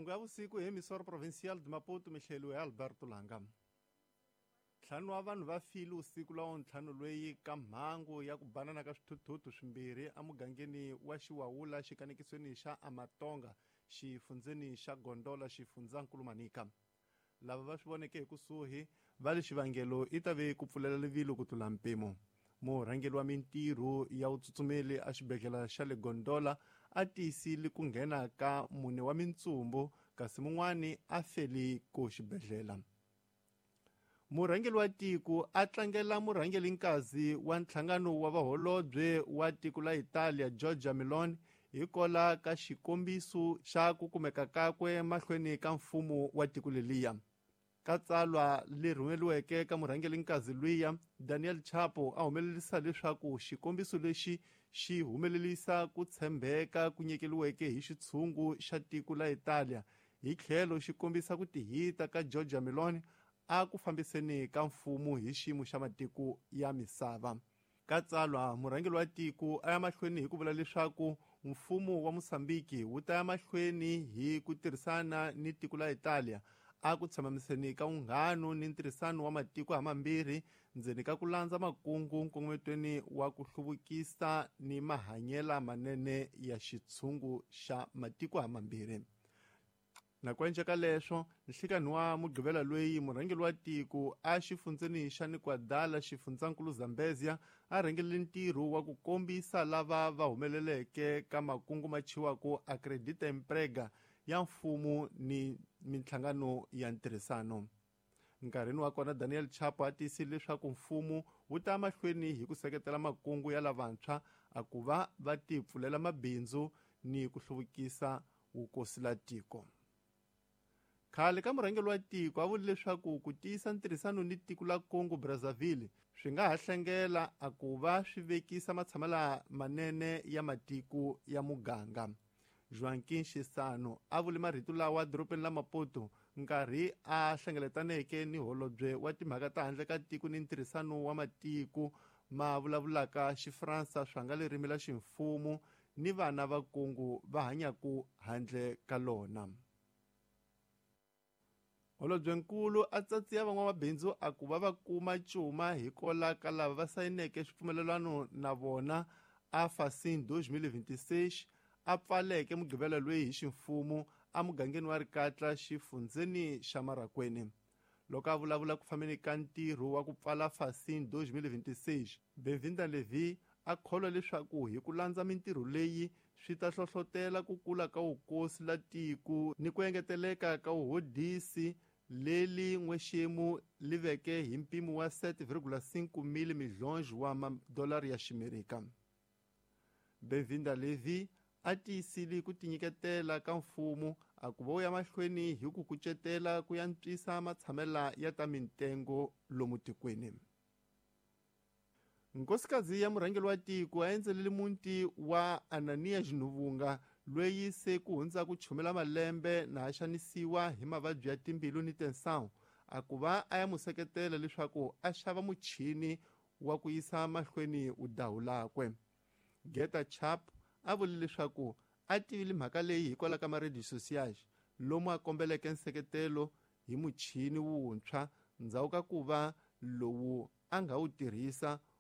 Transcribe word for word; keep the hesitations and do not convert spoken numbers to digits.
Mahungu ya vusiku hi Emissora Provincial de Maputo mihleliwe hi Alberto Langa. Ntlhanu wa vanhu va file usiku la ntlhanu lweyi ka mhangu ya ku banana ka swithuthuthu swimbirhi emugangeni wa Xiwawula xikanekisweni xa Amatonga xifundzeni xa Gondola xifundzankulu Manica. Lava va swi voneke hi kusuhi va le xivangelo i ta ve ku pfulela rivilo ku tlula mpimo. Murhangeri wa mintirho ya vutsutsumeli exibedhlele xa le Gondola a tiyisile ku nghena ka mune wa mintsumbu kasi mun'wani a feli ko xibedhlele. Murhangeri wa tiko a tlangela murhangelinkazi wa nhlangano wa vaholobye wa tiko la Italia Giorgia Meloni hikola ka xikombiso xa ku kumeka kakwe mahlweni ka mfumo wa tiko leliya. Ka tsalwa leri rhumeriweke ka murhangelinkazi luya Daniel Chapo a humelerisa leswaku xikombiso lexi xi humelerisa ku tshembeka ku nyikeriweke hi xitshungu xa tiko la Italia hi tlhelo xi kombisa ku tihita ka Giorgia Meloni a ku fambiseni ka mfumo hi xiyimo xa matiko ya misava. Ka tsalwa murhangeri wa tiko a ya mahlweni hi ku vula leswaku mfumo wa Mozambique wu ta ya mahlweni hi ku tirhisana ni tiko la Italia a ku tshamiseni ka vunghano ni ntirhisano wa matiko hamambirhi ndzeni ka ku landza makungu nkongometweni wa ku hluvukisa ni mahanyela manene ya xitshungu xa matiko hamambirhi. Nakwenje ka leswo nhlikani wa mugqivela lweyi murhangeri wa tiko a xifundzeni xa Nikwadala xifundzankulu Zambezia a rhangerile ntirho wa ku kombisa lava va humeleleke ka makungu ma chiwaka Acredita Emprega ya mfumo ni minhlangano ya ntirhisano. Nkarhini wa kona Daniel Chapo a tiyisile leswaku mfumo wu ta mahlweni hi ku seketela makungu ya lavantshwa a ku va va tipfulela mabindzu ni ku hluvukisa vukosi la tiko. Khale ka murhangeri wa tiko a vule leswaku ku tiyisa ntirhisano ni tiko la Congo Brazzaville swi nga ha hlengela a ku va swi vekisa matshamela manene ya matiko ya muganga. Joaquim Chissano a vule marito lawa dorobeni la Maputo nkarhi a hlengeletaneke ni holobye wa timhaka ta handle ka tiko ni ntirhisano wa matiko ma vulavulaka Xifransa swa nga ririmi la ximfumo ni vana va Congo va hanyaku handle ka lona. Holobyenkulu a tsatsiya van'wamabindzu a ku va va kuma cuma hikola ka lava va sayineke swipfumelelano na vona a Facin dois mil e vinte e seis a pfaleke mugqivela lweyi hi ximfumo emugangeni wa Rikatla xifundzeni xa Marracuene. Loko a vulavula ku fambeni ka ntirho wa ku pfala Facin dois mil e vinte e seis, Benvinda Levi a kholwa leswaku hi ku landza mintirho leyi swi ta hlohlotela ku kula ka vukosi la tiko ni ku engeteleka ka vuhodisi leli n'wexemu li veke hi mpimo wa sete vírgula cinco mil milhões wa madolari ya Ximerika. Benvinda Levi a tiyisile ku tinyiketela ka mfumo a ku va wu ya mahlweni hi ku kucetela ku antswisa matshamela ya ta mintengo lomu tikweni. Nkosikazi ya murhangeri wa tiko a endzelele muti wa Anania Xinuvunga lweyi se ku hundza ku chumela malembe na a xanisiwa hi mavabyi ya timbilu ni tensão a ku va a ya mu seketela leswaku a xava muchini wa ku yisa mahlweni udahu lakwe. Geta Chap a vule leswaku a tivile mhaka leyi hikwalaho ka ma-radio sociais lomu a kombeleke nseketelo hi muchini wuntshwa ndzhaku ka ku va lowu a nga wu tirhisa